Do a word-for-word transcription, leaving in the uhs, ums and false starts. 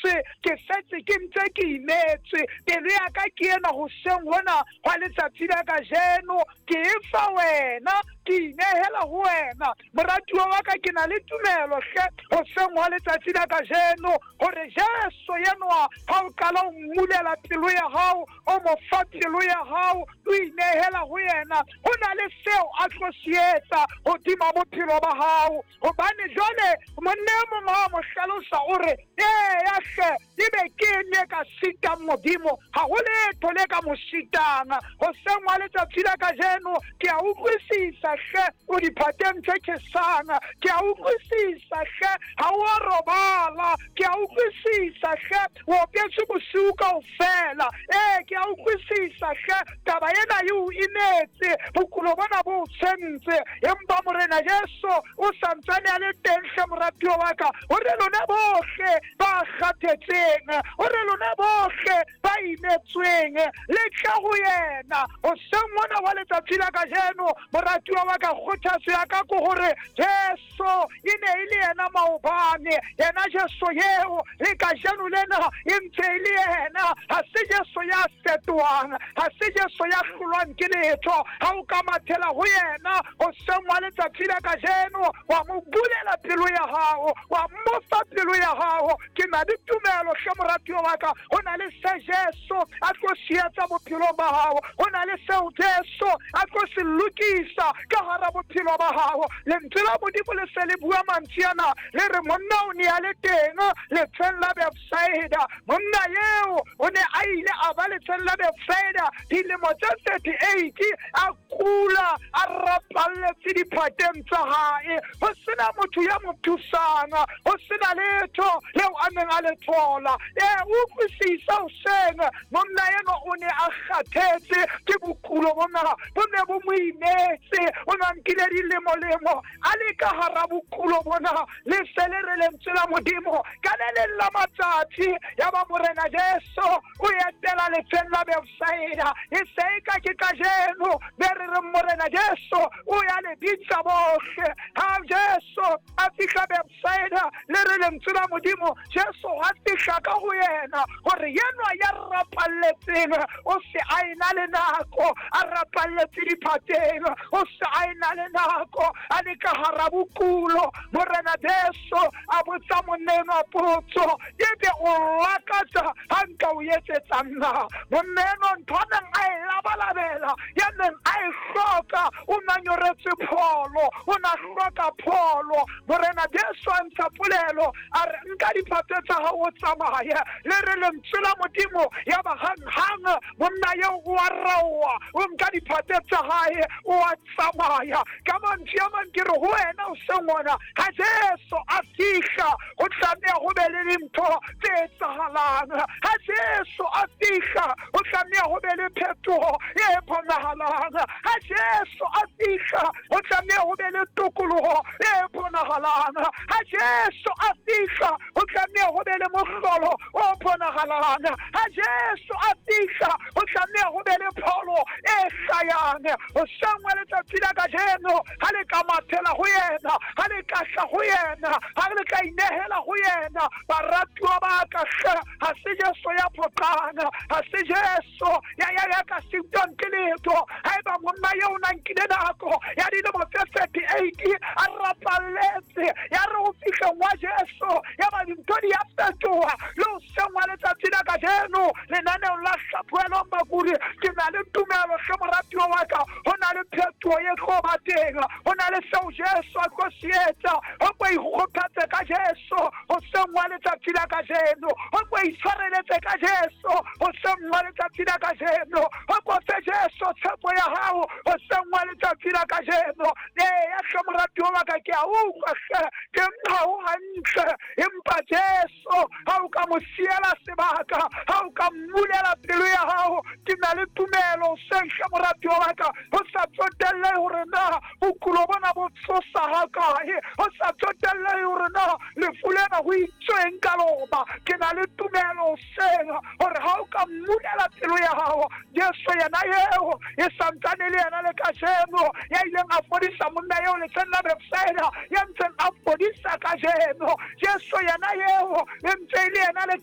imetswe, ke setse ke ntse ke imetswe. Pelo ya ka ke ena hoseng hona hwa letsatsi la kajeno, ke e fa wena, ke inehela ho wena. Moratuwa wa ka, ke na le tumelo hle hoseng hwa letsatsi la kajeno hore Jesu enwa ha o qala o mmulela pelo ya hao, o mo fa pelo ya hao, o inehela ho yena, ho na le seo a tlo se etsa hodima bophelo ba hao. Hobane jwale monna e mong ha mo hlalosa o re, eya hle, ebe ke eng e ka sitang Modimo? Ha ho letho le ka mo sitang. Hoseng wa letsatsi la kajeno ke a utlwisisa hle, o diphateng tse tjhesang. Ke a utlwisisa hle, ha o a robala. Ke a utlwisisa hle, o opetswe bosiu kaofela. Ee, ke a utlwisisa hle, taba ena e o imetse, bokulo bona bo o tshwentse. Empa Morena Jesu o santsane a le teng hle, moratuwa wa ka, hore lona bohle ba kgathetseng, hore lona bohle ba imetsweng, le tle ho yena. Hoseng mona wa letsatsi la kajeno, moratuwa wa ka, kgothatso ya ka ke hore Jesu e ne e le yena maobane, yena Jesu eo le kajeno lena e ntse e le yena. Ha se Jesu ya fetohang, ha se Jesu ya hlolwang ke letho. Ha o ka mathela ho yena hoseng wa letsatsi la kajeno, wa mo bulela pelo ya hao, wa mo fa pelo ya hao, ke na le tumelo hle moratuwa wa ka, ho na le se Jesu a tlo se etsa bophelong ba hao, ho na le seo Jesu a tlo se lokisa ka hara bophelo ba hao. Lentswe la Modimo le se le bua mantswe ana, le re monna o ne a le teng letsheng la Bethsaida. Monna eo o ne a ile a ba letsheng la Bethsaida dilemo tse thirty-eight, a kula, a rapalletse diphateng tsa hae, ho sena motho ya mo thusang, ho sena letho leo a neng a le thola. Ee, utlwisisa hoseng, monna enwa o ne a kgathetse ke bokulo bona, bo ne bo mo imetse, o ne a nkile dilemo-lemo a le ka hara bokulo bona. Le se le re lentswe la Modimo ka le leng la matsatsi, ya ba Morena Jesu o etela letsheng la Bethsaida. E se e ka ke kajeno be re reng Morena Jesu o ya le bitsa bohle. Ha Jesu a fihla Bethsaida, le re lentswe la Modimo, Jesu a fihla ka ho yena hore yenwa ya rapalletseng o se a ena le nako, a rapalletse diphateng, o se a ena le nako, a le ka hara bokulo. Morena Jesu a botsa monna enwa potso, ebe o lakatsa ha nka o etsetsa nna? Monna enwa ntho a neng a e labalabela, ya neng a e hloka, o na nyoretswe pholo, o na hloka pholo. Morena Jesu a ntsha polelo, a re nka diphate tsa hao o tsamaye. Le re lentswe la Modimo, ya ba hang-hang monna eo o a raoha, o nka diphate tsa hae, o a tsamaya. Ka mantswe a mang ke re ho wena hoseng hona, ha Jesu a fihla, ho tlameha ho be le dintho tse etsahalang. Ha Jesu a fihla, ho tlameha ho be le phetoho e bonahalang. Ha Jesu a fihla, ho tlameha ho be le tokoloho e bonahalang. Ha Jesu a fihla, ho tlameha ho be le mohlolo o bonahalang. Ha Jesu a fihla, ho tlameha ho be le pholo e hlayang. Hoseng wa letsatsi la kajeno, ha le ka mathela ho yena, ha le ka hla ho yena, ha le ka inehela ho yena, baratuwa ba ka hle, ha se Jesu ya phoqang, ha se Jesu ya ya ya ka sitwang ke letho. Haeba monna eo o na nkile nako ya dilemo tse thirty-eight a rapalletse, ya re ho fihleng wa Jesu, ya ba dintho di a fetoha. Le hoseng wa letsatsi la kajeno, lenaneong la Hlaphohelwang Bakudi, ke na le tumelo hle moratuwa wa ka, ho na le phetoho e tlo ba teng, ho na le seo Jesu a tlo se etsa. Ho ko ikgothatse ka Jesu hoseng wa letsatsi la kajeno, ho ko itshwareletse ka Jesu hoseng wa letsatsi la kajeno, ho ko fe Jesu tshepo ya hao hoseng wa letsatsi la kajeno. Eya hle moratuwa wa ka, ke a utlwa hle, ke nka ho hantle, empa Jesu ha o ka mo siela sebaka, ha o ka mmulela pelo ya hao, ke na le tumelo hoseng hle moratuwa wa ka, ho sa tsotellehe hore na bokulo bona bo tshosa hakae, ho sa tsotellehe hore na lefu lena ho itsweng ka lona, ke na le tumelo hoseng hore ha o ka mmulela pelo ya hao, Jesu yena eo e santsane le yena le kajeno, ya ileng a fodisa monna eo letsheng la Bethsaida, ya ntseng a fodisa kajeno, Jesu yena eo e ntse e le yena le